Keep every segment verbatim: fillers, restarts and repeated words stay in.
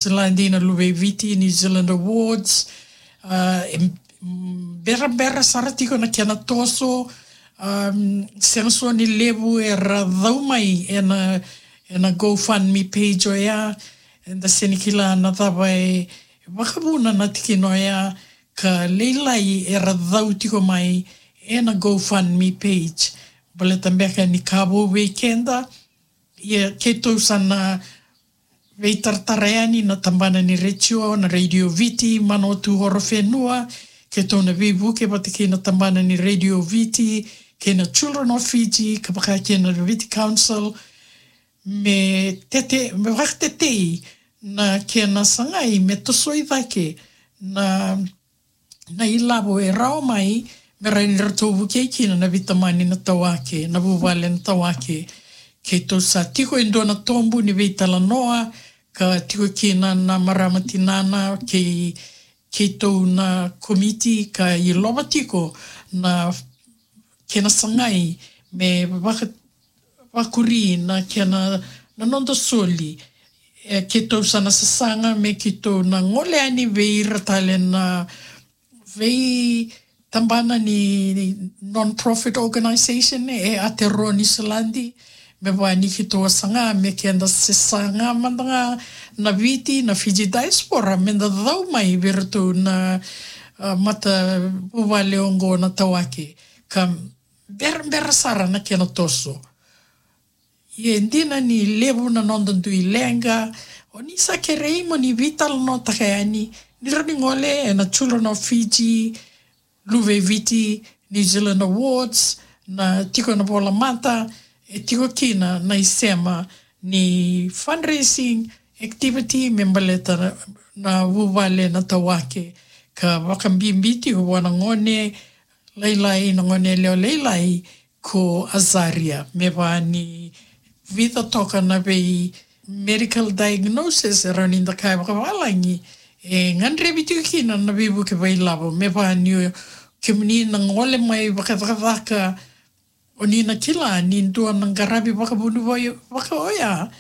Zealand, na Luve i Viti New Zealand Awards. Ah, em, mm, berabera sara tiko na kena toso. Um, sega soti ni levu era cau mai ena, ena GoFundMe page oya. Eda sega ni kila na cava e vakavuna na tikina oya, ka lailai era cau tiko mai ena GoFundMe page. Baleta beka ni ka vou vei keda. Ia keitou sa na veitaratara yani na tabana ni retio, na Radio Viti, Manawatu, Horowhenua. Keitou na veivuke vata kei na tabana ni Radio Viti kei na Children of Fiji, ka vaka kei na Viti Council, me tete, me vakatetei na kena sagai me tosoi cake na, na ilavo e rawa mai, me rawa ni ratou vukei kina na veitamani na tawake, na vuvale na tawake. Keitou sa tiko e dua na tobu ni veitalanoa, ka tiko kina na marama tinana kei, keitou na komiti, ka ilova tiko na kena sagai me vaka, vakuri na kena, na noda soli. E, keitou sa na sasaga me keitou na gole yani vei ira tale na veitabana ni non-profit organization e Aotearoa Niu Siladi, me vaka ni keitou a saga me keda se saga mada ga na Viti, na Fiji diaspora, meda cau mai vei iratou na, ah, matavuvale oqo na tawake. Ka berabera sara na kena toso. Ia e dina ni levu na noda dui leqa, o ni sa kerei mo ni veitalanoataka yani, ni rawa ni gole ena Children of Fiji, Luve i Viti New Zealand Awards, na tiko na volamata, e tiko kina na isema ni fundraising activity me baleta na, na vuvale na tawake, ka vakabibi tiko vua na gone lailai, na gone yalewa lailai ko Azaria, me vaka ni vica toka na vei medical diagnosis e rawa ni da kaya vakavalagi, e gadrevi tiko kina na veivuke vakailavo. Me vaka ni o kemuni na gole mai vakacakacaka, o ni na kila ni dua na qaravi vakavuniwai vaka oya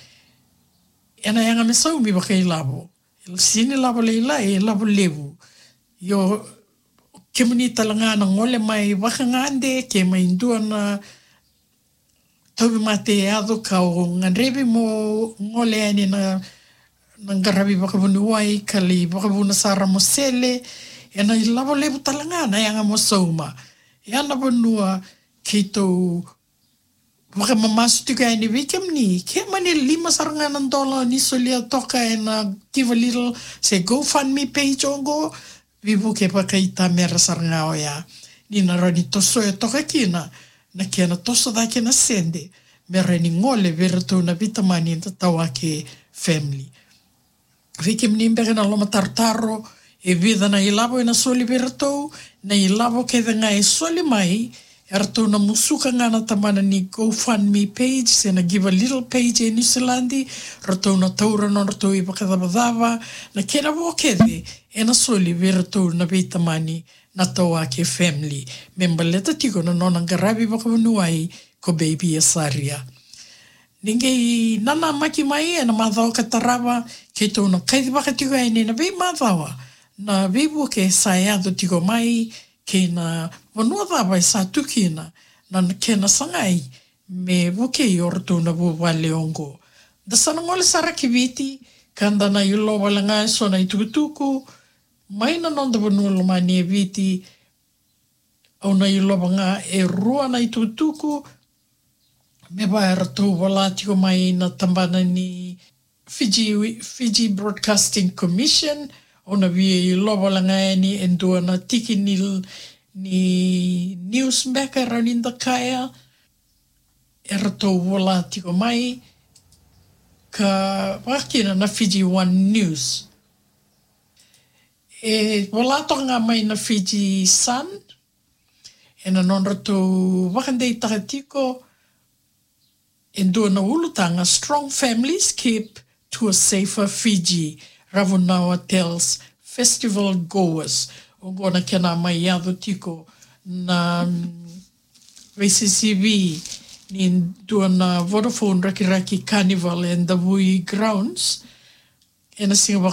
ena yaga me saumi vakailavo. E sega ni lavo lailai, e lavo levu. Ia o kemuni tale ga na gole mai vakagade, ke mai dua na tauvimate e yaco, ka o gadrevi mo gole yani na, na qaravi vakavuniwai, ka lai vakavuna sara mo sele, ena ilavo levu tale ga na yaga mo sauma. Ia na vanua keitou vakamamasu tiko yani vei kemuni, ke mani lima sara ga na dola ni solia toka ena Give a Little se GoFundMe page oqo, veivuke vakaitamera sara ga oya. Ni na rawa ni tosoya toka kina na kena toso cake na sede, me rawa ni gole vei iratou na veitamani na tawake family. Vei kemuni beka na lomatarotaro, e vica na ilavo ena soli vei iratou, na ilavo kece ga e soli mai, eratou na musuka ga na tabana ni GoFundMe page se na Give a Little page e Niu Siladi, ratou na taura nodratou ivakacavacava, na kena vo kece ena soli vei iratou na veitamani na tawake family, me baleta tiko na nona qaravi vakavuniwai ko baby Azaria. Ni qai nanamaki mai ena macawa ka tarava, keitou na kacivaka tiko yani ena veimacawa na veivuke sa yaco tiko mai, kei na vanua cava e sa tu kina na kena sagai me vukei o ratou na vuvale oqo. Da sa na gole sara ki Viti, ka da na ilova wale ga eso na itukutuku mai na noda vanua lomani e Viti. Au na ilova ga e rua na itukutuku me vaka eratou vola tiko mai na tabana ni Fiji, Fiji Broadcasting Commission. Au na via ilova wale ga yani e dua na tiki ni, ni news beka e rawa ni da kaya, eratou vola tiko mai, ka vaka kina na Fiji One News. E vola toka ga mai na Fiji Sun ena nodratou vakadeitaka tiko e dua na ulutaga: Strong families keep to a safer Fiji, Ravunawa tells festival goers. Oqo na kena mai yaco tiko na, mm, veisisivi ni dua na Vodafone Rakiraki Carnival e Davui Grounds ena siga vaka